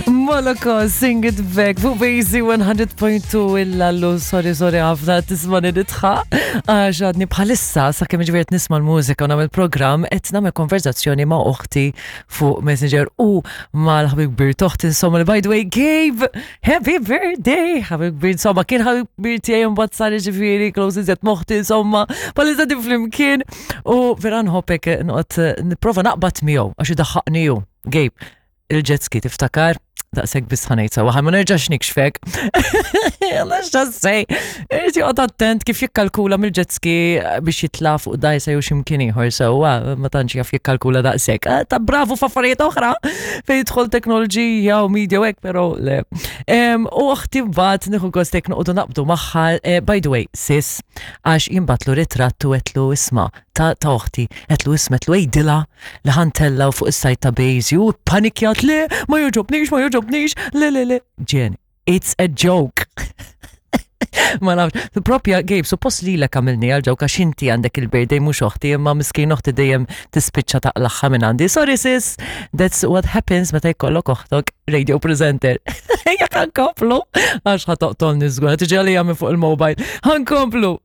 Moloko, sing it back, fuq Bazy 100.2 illallu, sorry, sorry, ħafna tismani nitħa. Għax għadni bħalissa, sa' kemm ġifieri nisma' l-mużika u nagħmel programm, qed nagħmel konverzazzjoni ma' oħti fuq Messenger u mal-ħabib kbir toħti, insomma, li by the way, Gabe, happy birthday, ħabib kbir, insomma, kien ħabib kbir tiegħi mbagħad sar ġifieri close iżjed moħti, insomma, bħalissa din flimkien. U vera nħobbek noqgħod nipprova naqbad miegħu għax idaħħaqni hu. Gabe, il-jet ski tiftakar? Daqshekk biss ħanejt sawa, ma nerġax nikxfek. Għax sej, irid joqgħod attent kif jikkalkula mill-jet ski biex jitla' fuq dajsa jew x'imkien ieħor sewwa, ma tantx jaf jikkalkula daqshekk. Ah, ta' bravu f'affarijiet oħra fejn jidħol teknoloġija u media u hekk, però le. U oħti mbagħad nieħu gost hekk noqogħdu naqbdu magħha, eh, by the way, sis, għax jimbatlu ritratt u għetlu isma' ta' ta' oħti, għetlu isma' għetlu għidilha li ħantellaw fuq is-sajt ta' Bejzi u panikjat le ma joġobnix, ma joġobnix, le le le. Ġen, it's a joke. Ma nafx, propja Gabe, suppost li l għamilni għal ġewk għax inti għandek il-birthday mhux oħti, imma miskin oħti dejjem tispiċċa taqlaħħa minn għandi. Sorry sis, that's what happens meta jkollok oħtok radio presenter. Ejja ħankomplu, għax ħatoqtolni żgur, tiġi għalija minn fuq il-mobile. Ħankomplu.